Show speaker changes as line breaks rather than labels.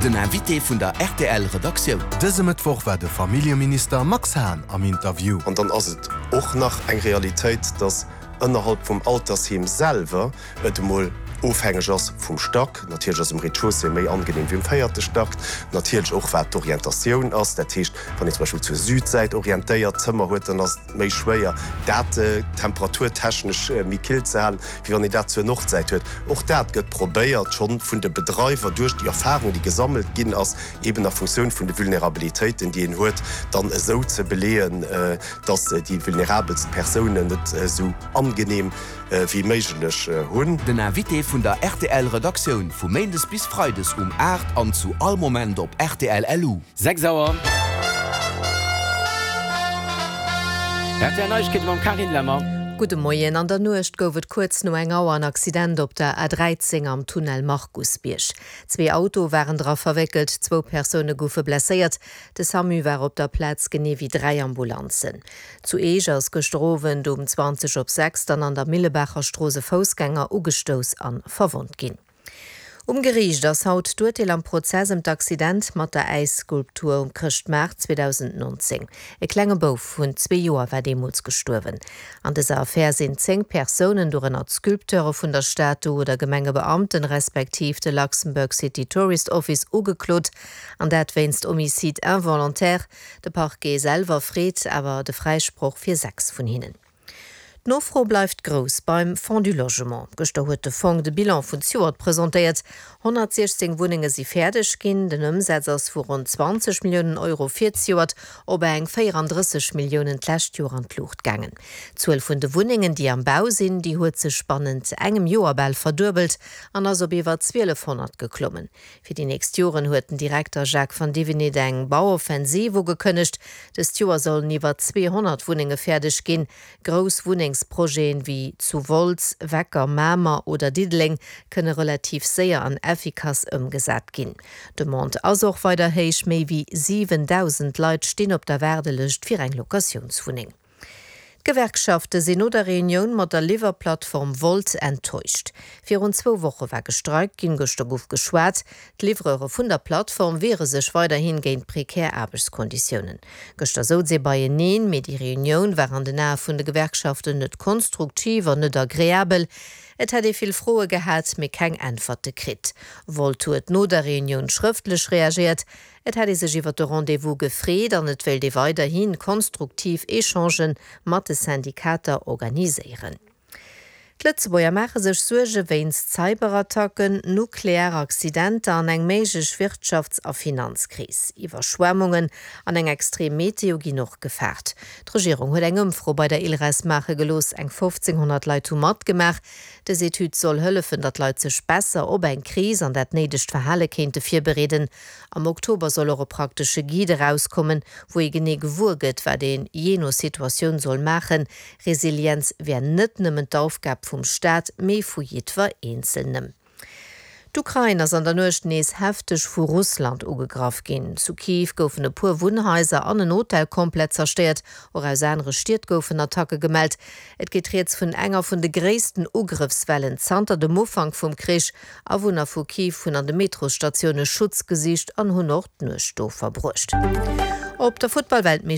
Den Invité vun der rtl Redaktioun.
Dëse Mëttwoch war de Familljeminister Max Hahn am Interview.
An dann ass et och nach eng Realitéit, dass ënnerhalb vum Altersheem selwer et emol ofhängeg ass vum Stack. Natierlech ass um Rez-de-chaussée méi angenehm wéi um véierte Stack. Natierlech och wat d'Orientatioun ass. Dat heescht, wann een zum Beispill zur Südsäit orientéiert Zëmmer huet, dann ass et méi schwéier dat temperaturtechnesch méi kill ze halen, wéi wann een dat zur Nordsäit huet. Och dat gëtt probéiert schonn vun de Bedreiwer duerch déi Erfahrung, déi gesammelt ginn ass, eben a Funktioun vun de Vulnerabilitéiten, déi een huet, dann esou ze beleeën, dass déi vulnerabelst Persounen et esou angenehm wéi méiglech hunn.
Den Invité vun der rtl Redaktioun vu Méindes bis Freides um 8 an zu all Moment op rtl LU.
6 Auer. Rtl Neiegkeete mam Carine Lemmer.
Gudde Moien. An der Nuecht gouf et kuerz no eng Auer en Accident op der A13 am Tunnel Markusbierg. Zwee Autoe waren dra verwéckelt, zwou Persoune goufe blesséiert. De Samu war op der Plaz, genee wéi 3 Ambulanzen. Zu Eech ass gëschter Owend um 20 op 6 dann an der Millebaacher Strooss e Foussgänger ugestouss an verwonnt ginn. Um Geriicht ass haut d'Urteel am Prozess ëm d'Accident mat der Äisskulptur um Chrëschtmaart 2019. E klenge Bouf vun zwee Joer war deemools gestuerwen. An dëser Affär sinn 10 Persounen, dorënner d'Sculpteure vun der Statu oder Gemengebeamten, respektiv de Luxembourg City Tourist Office ugeklot, an dat wéinst Homicide involontaire. De Parquet selwer freet awer de Fräisproch fir 6 vun hinnen. D'Nofro bleift grouss beim Fonds du Logement. Gëschter huet de Fong de Bilan vun zejoert presentéiert. 116 Wunnenge si fäerdeg ginn. Den Ëmsaz ass vu ronn 20 Milliounen Euro fir zejoert op eng 34 Milliounen d'lescht Joer an d'Luucht gaangen. D'Zuel vun de Wunnengen, déi am Bau sinn, déi huet sech bannent engem Joer bal verduebelt an ass op iwwer 1.200 geklommen. Fir déi nächst Joren huet den Direkter Jacques Vandivinit eng Bauoffensiv ugekënnegt. Dëst Joer sollen iwwer 200 Wunnenge fäerdeg ginn. Grouss Wunnengsprojeten wéi zu Wolz, Wecker, Mamer oder Diddeleng kënne relativ séier an effikass ëmgesat ginn. D'Demande ass och weider héich, méi wéi 7.000 Leit stinn op der Waardelëscht fir eng Locatiounswunneng. D'Gewerkschafte sinn no der Reunioun mat der Liwwerplattform Wolt enttäuscht. Virun zwou Woche war gestreikt ginn, gëschter gouf geschwat. D'Livreure vun der Plattform wiere sech weiderhi géint prekär Aarbechtskonditiounen. Gëschter souz ee beieneen, mee déi Reunioun war an den Ae vun de Gewerkschaften net konstruktiv an net agreabel. Et hätt ee vill Froe gehat, mee keng Äntwerte kritt. Wolt huet no der Reunioun schrëftlech reagéiert. Et hätt ee sech iwwer de Rendez-vous gefreet an et wéilt ee weiderhi konstruktiv Echangen mat de Syndikater organiséieren. D'Lëtzebuerger maache sech Suerge wéinst Cyberattacken, nuklear Accidenter an eng méiglech Wirtschafts a Finanzkris. Iwwerschwemmungen an eng extrem Meteo ginn och gefaart. D'Regierung huet eng Ëmfro bei der ILRES maache gelooss. Eng 1.500 Leit hu matgemaach. Dës Etüd soll hëllefen, datt d'Leit sech besser op eng Kris an dat néidegt Verhale kéinte virbereeden. Am Oktober soll och e praktesche Guide erauskommen, wou ee genee gewuer gëtt, wat een jee no Situatioun soll maachen. Resilienz wär net nëmmen d'Aufgab vum Staat, mee vu jiddwer Eenzelnem. D'Ukrain ass an der Nuecht nees hefteg vu Russland ugegraff ginn. Zu Kiew goufen e puer Wunnhaiser an en Hotel komplett zerstéiert. Och aus anere Stied goufen Attacke gemellt. Et geet rieds vun enger vun de gréissten Ugrëffswellen zanter dem Ufank vum Krich. Awunner vu Kiew hunn an de Metrosstatioune Schutz gesicht an hunn och d'Nuecht do verbruecht. Op der Futtball-Weltmeeschterschaft.